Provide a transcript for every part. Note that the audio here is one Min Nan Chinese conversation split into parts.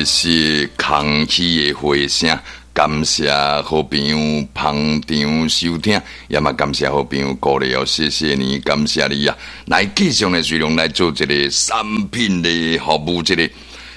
是空氣的回聲，感謝好朋友捧場收聽，也嘛感謝好朋友鼓勵哦，謝謝你，感謝你啊！來繼續呢，隨量來做一個產品的服務，這個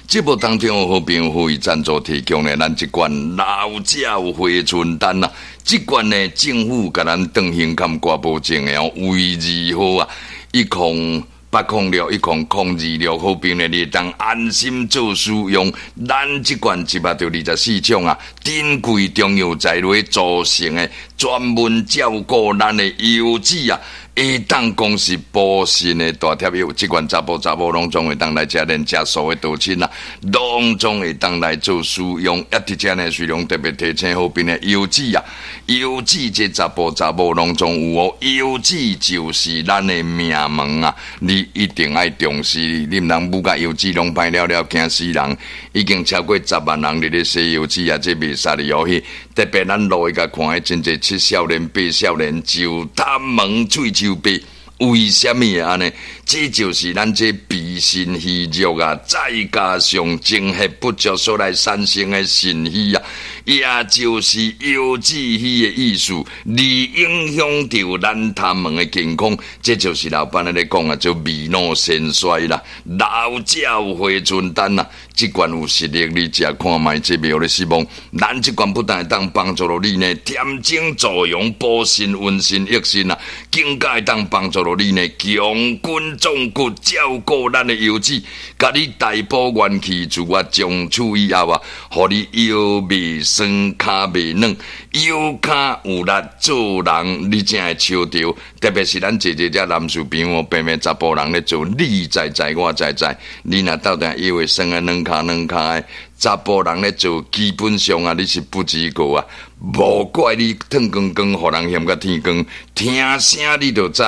節目當中，好朋友呼籲贊助提供的咱這罐老鳥回春丹啊，這罐呢政府共咱當胸坎掛保證的哦，衛字號啊，108061002六，好朋友你會當安心做使用。咱這罐124種啊，珍貴中藥材來組成的，專門照顧咱的腰子啊，會當講是補腎的大帖藥。這罐查埔查某攏總會當來食，連食素的道親啊，攏總會當來做使用。一佇遮呢，雖然特別提醒好朋友腰子啊，腰子這查埔查某攏總有哦，腰子就是咱的命門啊，你一定愛重視，你毋通舞甲腰子攏歹了了，驚死人！已經超過10萬人佇咧洗腰子啊，這袂使哩哦。去特別咱路去共看，彼真濟七少年、八少年就痰門喙鬚白，為啥物會按呢？這就是咱這脾腎虛弱啊，再加上精血不足所來產生的腎虛啊，也就是腰子虛的意思，而影響著咱痰門的健康。這就是老闆咧講啊，做未老先衰啦，老鳥回春丹啊，這罐有實力，你食看覓，這袂予你失望。咱這罐不但會當幫助到你呢，恬精助陽、補腎、溫腎、益腎啊，更加會當幫助到你呢，強筋壯骨，照顧咱的腰子，共你大補元氣，自我從此以後啊，予你腰袂酸、跤袂軟，腰跤有力做人，你才會笑著。特別是咱濟濟遮男士朋友，平平查埔人咧做，你知知我知知，你若鬥定腰會酸啊，軟跤軟跤的，查埔人咧做，基本上啊，你是不及格啊，無怪你脫光光，予人嫌甲天光，聽聲你就知。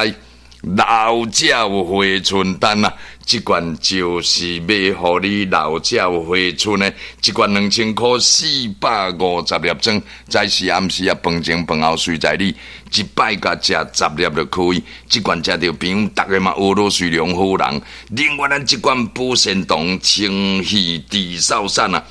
老鳥回春丹啊，這罐就是欲予你老鳥回春的，這罐2000箍450粒裝，早時暗時啊，飯前飯後隨在你，一擺共食十粒就可以。這罐食著朋友，逐个嘛學老隨良好人。另外，咱這罐保腎糖清氣治嗽散啊。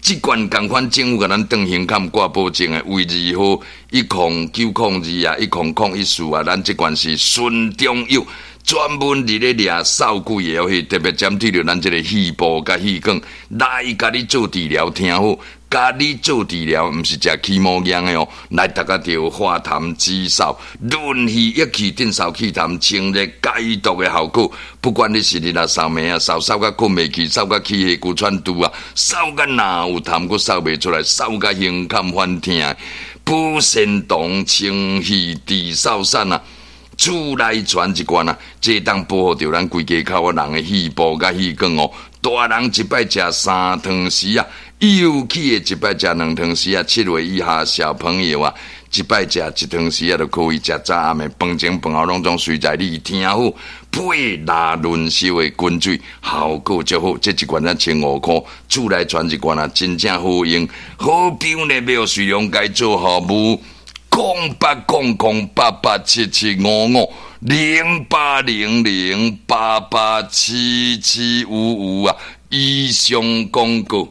這罐仝款政府共咱當胸坎掛保證的，衛字號10902啊，1001 4啊，咱這罐是純中藥，專門佇咧掠嗽鬼的，去特別針對著咱這个肺部佮氣管來共你做治療，聽好，共你做治療，毋是食起毛藥的哦，來達個著化痰止嗽、潤肺益氣、鎮嗽去痰、清熱解毒的效果。不管你是日若嗽暝啊，嗽嗽甲睏袂去，嗽甲起氣骨喘拄啊，嗽甲若有痰閣嗽袂出來，嗽甲胸坎反疼，補腎糖清氣治嗽散啊！厝內傳一罐啊，這當保護著咱規家口的人的肺部佮氣管哦。大人一擺食3湯匙啊，幼齒的一擺食2湯匙啊，7歲以下小朋友啊，一擺食1湯匙啊，就可以食早暗的飯前飯後攏總隨在你聽好，配拉潤燒的滾水，效果足好。這一罐才1500箍，厝內傳一罐啊，真正好用。好朋友呢，欲隨量共做服務。08008877550800887755啊！以上廣告。